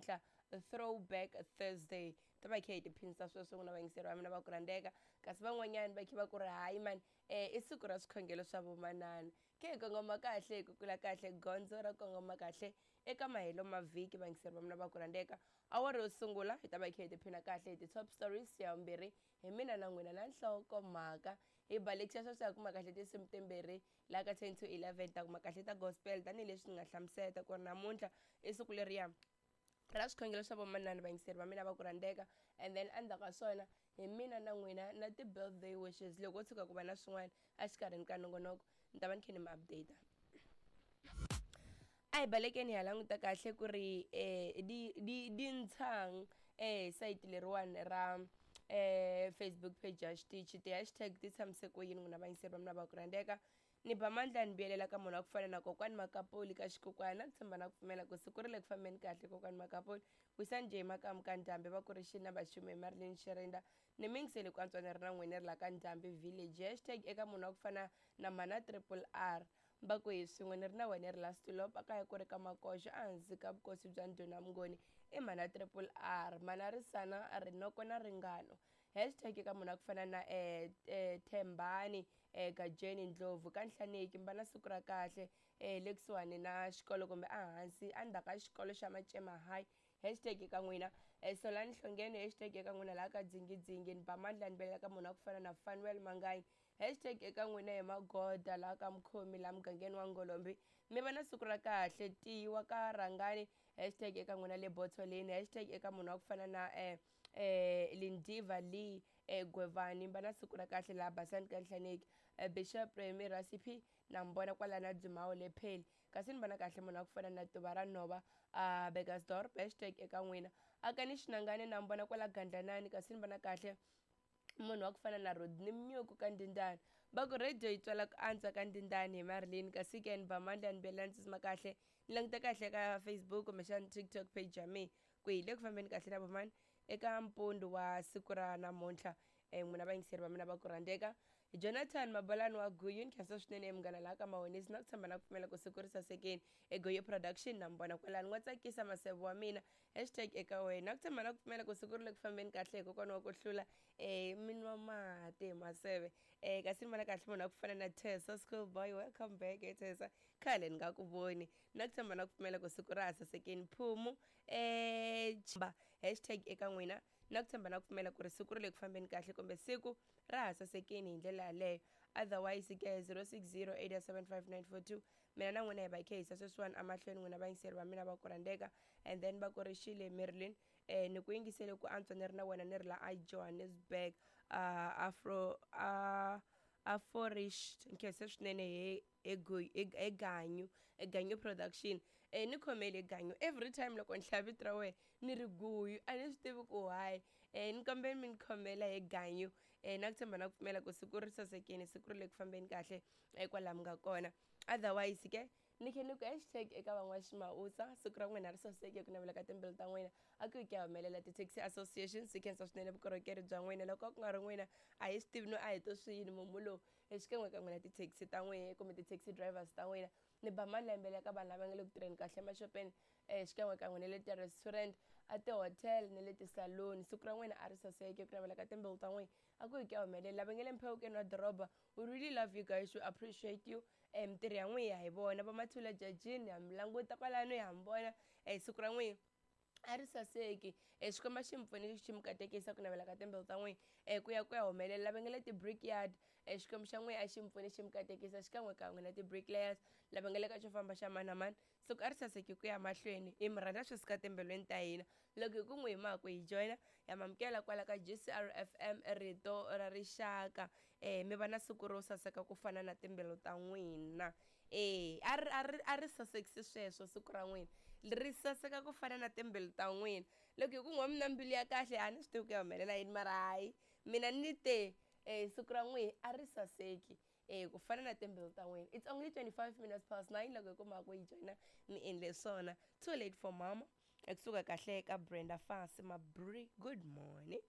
namuntlha Throwback Thursday. Ta va khe hi tiphinisa sweswo n'wina vayingiseri va mina va ku rhandzeka, kasi van'wanyani va khe va ku ri hayi mani i siku ra swikhongelo swa vomanana. Khe hi kongoma kahle hi kukula kahle gondzo ra kongoma kahle eka mahelo ma vhiki vayingiseri va mina va ku rhandzeka. Awara yo sungula hi ta va hi khe hi tiphina kahle hi ti-top stories, ya vumbirhi hi mina na n'wina na nhlokomhaka. Hi balekisa sweswo hi kuma kahle tinsimu timbirhi laha ka 10 to 11 ta kuma kahle ta gospel tanihileswi ni nga hlamuseta ku ri namuntlha i siku leriya ra swikhongelo swa vomanana vayingiseri va mina va ku rhandzeka. And then endzhaku ka swona hi mina na n'wina na ti-birthday wishes. Loko ko tshuka ku va na swin'wana exikarhini ka nongonoko ni ta va ni kha ni mi update. A hi balekeni hi ya languta kahle ku ri di di di ntshang sayiti leriwani ra Facebook page ya xitichi ti-hashtag ti tshamise ku yini n'wina vayingiseri va mina va ku rhandzeka. Ni ba mandla ni vuyelela ka munhu wa ku fana na kokwani Makapuli ka xikukwana na ku tshemba na ku pfumela ku siku ri le ku fambeni kahle kokwani Makapuli. Wisani njhe makamu ka Ndhambi va ku ri xini na vaxumi hi Marilyn Shirinda ni mi yingiseli ku antswa ni ri na n'wina ri la ka Ndhambi village. Hashtag eka munhu wa ku fana na mhana Triple R va ku hi swin'we ni ri na wena ri la Stulop a kaya ku ri ka Makoxo ehansi ka vukosi bya Ndhuna Mnguni i mhana Triple R mhana Risana Rinoko na Ringano. Hashtag eka munhu wa ku fana na Thembani Gajeni Ndlovu ka Nhlaneki mi va na siku ra kahle le kusuhani na xikolo kumbe ehansi endzhaku ka xikolo xa Macema High. Hashtag eka n'wina Solani Hlongeni hashtag eka n'wina laha ka Dzingidzingi ni ba mandla ni velela ka munhu wa ku fana na Fanuel Manganyi. Hashtag eka n'wina hi Magoda laha ka Mkhomi laha mugangeni wa Ngolombi mi va na siku ra kahle tiwa ka Rhangani. Hashtag eka n'wina le Botholeni. Hashtag eka munhu wa ku fana na Lindiva Lee Gwevani mi va na siku ra kahle laha Basani ka Nhlaneki. Bishop Remy Recipe na mi vona kwala na Dzimawo le Pheli kasi ni vona kahle munhu wa ku fana na Tuva ra Nhova Burgersdorp. Hashtag eka n'wina Akani Xinangani na mi vona kwala Gandlanani kasi ni vona kahle munhu wa ku fana na Rodney Mnyuku ka Ndindani va ku radio yi twala ku antswa ka Ndindani hi Marilyn kasi ke ni ba mandla ni bela ni tsutsuma kahle ni languta kahle ka Facebook kumbexana TikTok page ya mina ku hi le ku fambeni kahle na vomani eka mpundu wa siku ra namuntlha. N'wina vayingiseri va mina va ku rhandzeka Jonathan Mabalani wa Guyu ni khensa swinene munghana laha ka Mahonisi na ku tshemba na ku pfumela ku siku ri sasekeni eGuyu Production na mi vona kwalani n'wa tsakisa maseve wa mina. Hashtag eka wena na ku tshemba na ku pfumela ku siku ri le ku fambeni kahle hi kokwana wa ku hlula mi nwa mati hi maseve. Kasi ni vona kahle munhu wa ku fana na Tessa Schoolboy, welcome back Tessa, khale ni nga ku voni na ku tshemba na ku pfumela ku siku ra ha sasekeni. Phumu hashtag eka n'wina na ku tshemba na ku pfumela ku ri siku ri le ku fambeni kahle kumbe siku ra ha sasekeni hi ndlela yaleyo. Otherwise ke 0608755942 mina na n'wina hi va hi khe hisa sweswiwani emahlweni n'wina vayingiseri va mina va ku rhandzeka. And then va ku ri xile Marilyn ni ku yingisele ku antswa ni ri na wena ni ri la a Johannesburg afro aforish nkhense swinene hi eganyu eganyu production ni khomele ganyu every time loko ni hlaya vito ra wena ni ri guyu a ni swi tivi ku why ni kombela mi ni khomela hi ganyu na ku tshemba na ku pfumela ku siku ri sasekile siku ri le ku fambeni kahle kwalaho mi nga kona. Otherwise ke ni khe ni ku hashtag eka van'waximawusa siku ra n'wina ri saseke ku navela ka timbilu ta n'wina a ku yi ku ya humelela ti-taxi association swi khensa swinene vukorhokeri bya n'wina loko ku nga ri n'wina a hi swi tivi no a hi to swi yini mumu lowu xikan'we ka n'wina ti-taxi ta n'wina kumbe ti-taxi drivers ta n'wina ni ba malembe le ka vanhu lava nga le ku tirheni kahle emaxopeni xikan'we ka n'wina le ti-restaurant a ti-hotel ni le ti-saloon siku ra n'wina a ri saseke ku navela ka timbilu ta n'wina a ku yi ku ya humelela lava nga le mphewukeni wa doroba we really love you guys, we appreciate you. Mintirho ya n'wina hi vona va Mathula Jajini ha mi languta kwalano ha mi vona siku ra n'wina a ri saseki Xikwembu xi mi pfuni xi mi katekisa ku navela ka timbilu ta n'wina ku ya ku ya humelela lava nga le ti-brickyard Xikwembu xa n'wina a xi mi pfuni xi mi katekisa xikan'we kan'we na ti-bricklayers lava nga le ka xo famba xa mani na mani siku a ri saseki ku ya mahlweni hi mi rhandza swi suka timbilwini ta hina loko hi ku n'wi hi maku hi joyina ya mamukela kwala ka GCR FM rito ra rixaka mi va na siku ro saseka ku fana na timbilu ta n'wina. A ri a ri a ri sasekisi sweswo siku ra n'wina ri saseka ku fana na timbilu ta n'wina loko hi ku n'wa mi na mbilu ya kahle a ni swi tivi ku ya humelela yini mara hayi mina ni te siku ra n'wina a ri saseki ku fana na timbilu ta n'wina. It's only 25 minutes past 9 loko hi kuma ku yi joyina mi endle swona. Too late for mama ekusuka kahle ka Brenda Fassie Mabri, good morning.